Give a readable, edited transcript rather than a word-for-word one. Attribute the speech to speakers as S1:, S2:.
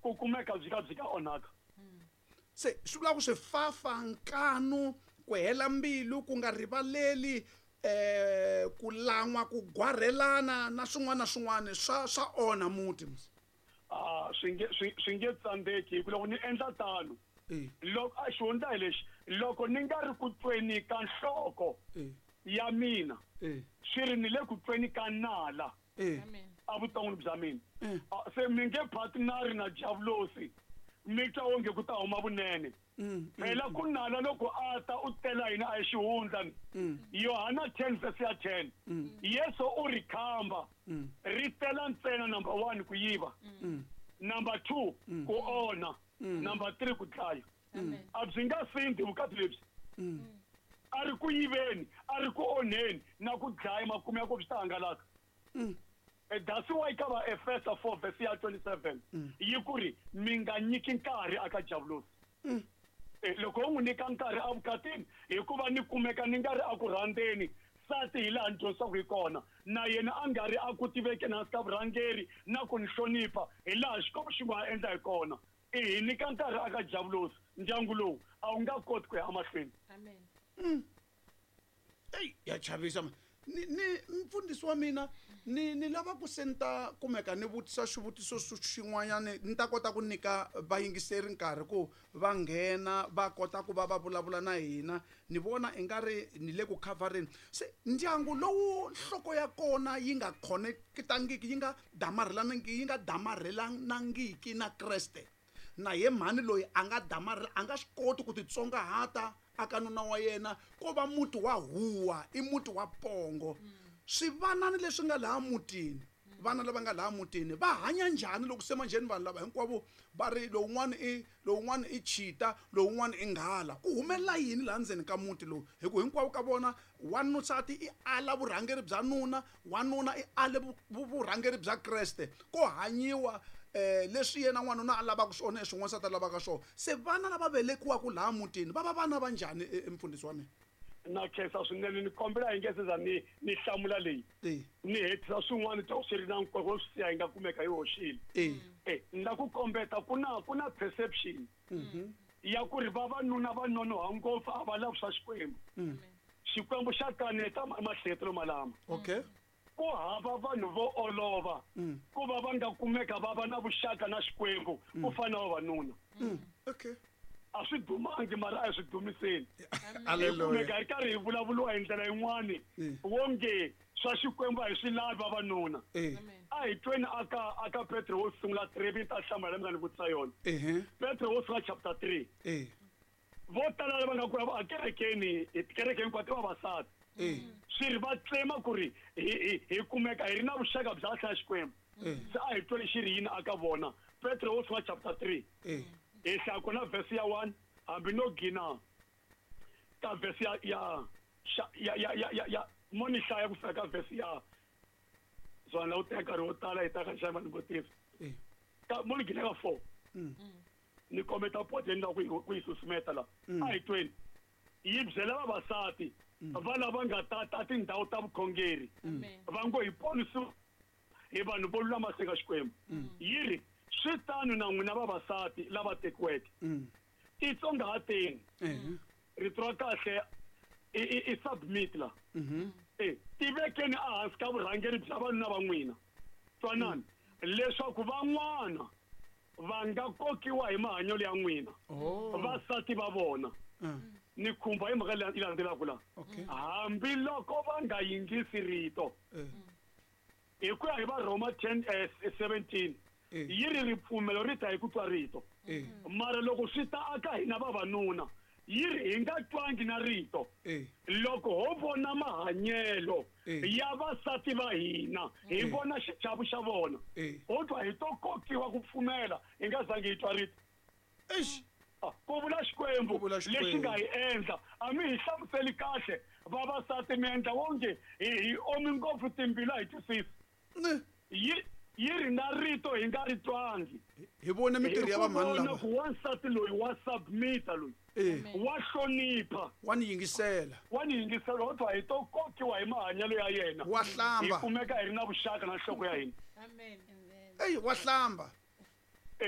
S1: Ku kumeka byi ka byi ka onhaka.
S2: Se swi vula ku swifafa, nkanu, ku hela mbilu, ku nga rivaleli, ku lan'wa, ku gwarhelana na swin'wana na swin'wana swa swa onha muti.
S1: A swi nge swi swi nge tsandzeki hi ku loko ni endla tano loko a xihundla hi lexi loko ni nga ri ku tweni ka nhloko ya mina swi ri ni le ku tweni ka nala evuton'wini bya mina. Se mi nge partneri na javulosi mi twa onge ku ta huma vunene. Phela ku nala loko a ta u tela hina a hi xihundla ni. Yohana 10 verse ya 10 Yesu u ri khamba ri tela ntsena number 1 ku yiva, number 2 ku onha, number 3 ku dlaya. A byi nga sindi vukati lebyi. A ri ku yiveni, a ri ku onheni na ku dlaya, makumu ya ko swi ta hangalaka. That's why ka va Efesa 4 verse ya 27 yi ku ri mi nga nyiki nkarhi aka javulosi. Loko u n'wi nyika nkarhi evukatini hikuva ni kumeka ni nga ri a ku rhandzeni nsati hi laha ni dyondzisaka hi kona, na yena a nga ri a ku tivekeni hansi ka vurhangeri na ku ni hlonipha hi laha Xikwembu xi nga ha endla hi kona, i hi nyika nkarhi aka javulosi, ndyangu lowu a wu nga koti ku ya emahlweni.
S3: Amen.
S2: Eyi ya chavisa ni ni mfundhisi wa mina ni ni lava ku se ni ta kumeka ni vutisa xivutiso xin'wanyana ni ta kota ku nyika vayingiseri nkarhi ku va nghena va kota ku va va vulavula na hina. Ni vona i nga ri ni le ku khavhareni. Se ndyangu lowu nhloko ya kona yi nga khonekitangiki yi nga damarhelanangiki yi nga damarhelanangiki na Kreste, na ye mhani loyi a nga damarhela a nga swi koti ku titsongahata aka nuna wa yena, ko va muti wa huwa, i muti wa pongo. Swivanani leswi nga laha mutini, vana lava nga laha mutini va hanya njhani loko se manjheni vanhu lava hinkwavo va ri lowun'wana i lowun'wana i chita, lowun'wana i nghala? Ku humelela yini laha ndzeni ka muti lowu? Hi ku hinkwavo ka vona wanusati i ala vurhangeri bya nuna, wanuna i ale vurhangeri bya Kreste. Ko hanyiwa leswi yena n'wanuna a lavaka swona leswi n'wansati a lavaka swona. Se vana lava velekiwaka laha mutini va va vana va njhani, mfundhisi wa mina?
S1: Na khensa swinene, ni kombela hi nge se za ni ni hlamula leyi ni hetisa swin'wana to swi ri na nkoka wo swi siya hi nga kumeka hi hoxile. Ni la ku kombeta ku na ku na perception ya ku ri vavanuna va nonoha ngopfu a va lavi swa Xikwembu. Xikwembu xa kaneta mahletelo malama. Ku hava vanhu vo olova ku va va nga kumeka va va na vuxaka na Xikwembu ku fana na vavanuna. A swi dumangi mara a hi swi dumiseni. Hi kumeka hi karhi hi vulavuriwa hi ndlela yin'wani wonge swa Xikwembu a hi swi lavi vavanuna. A hi tweni aka aka Petro wo sungula 3 mi ta hlamula leyi mi nga ni vutisa yona. Petro wo sungula chapter 3. Vo tala lava nga ku a kerekeni, tikereke hinkwato i vavasati. Swi ri va tlema ku ri hi hi kumeka hi ri na vuxaka bya kahle na Xikwembu. Se a hi tweli xi ri yini aka vona. Petro wo sungula chapter 3. Hi hlaya kona verse ya 1 hambi no gina ka verse ya ya ya ya ya ya ya mo ni hlaya ku fika ka verse ya zwana u teka nkarhi wo tala hi ta ka xava ni vutisa. Ka mo ni gina ka 4. Ni kombeta pote ni lava ku yi susumeta la. A hi tweni. Yi byela vavasati va lava nga tata tindhawu ta vukhongeri va ngo hi ponisiwa hi vanhu vo lulama se ka Xikwembu. Yi ri swi tano na n'wina vavasati lava tekiweke, titsongahateni. Rito ra kahle i submit la. Tivekeni ehansi ka vurhangeri bya vanuna va n'wina, twanani, leswaku van'wana va nga kokiwa hi mahanyelo ya n'wina, vasati va vona. Ni khumba hi mhaka leyi landzelaka la. Hambiloko va nga yingisi rito, hi ku ya hi va Rhoma 10 17 yi ri ripfumelo ri ta hi ku twa rito. Mara loko swi ta aka hina vavanuna, yi ri hi nga twangi na rito. Loko ho vona mahanyelo ya vasati va hina, hi vona xichavo xa vona, ho twa hi to kokiwa ku pfumela hi nga zangi hi twa rito.
S2: Eish.
S1: Ku vula Xikwembu lexi nga hi endla. A mi hi hlamuseli kahle vavasati, mi endla wonge hi omi ngopfu timbilu a hi twisisi. Yi yi ri na rito hi nga ri twangi.
S2: Hi vone mintirho ya vamhani lava.
S1: Ku wansati loyi wa submita loyi. Wa hlonipha.
S2: Wa ni yingisela.
S1: Wa ni yingisela, ho twa hi to kokiwa hi mahanyelo ya yena.
S2: Wa hlamba.
S1: Hi kumeka hi ri na vuxaka na nhloko ya hina.
S3: Amen.
S2: Eyi, wa hlamba.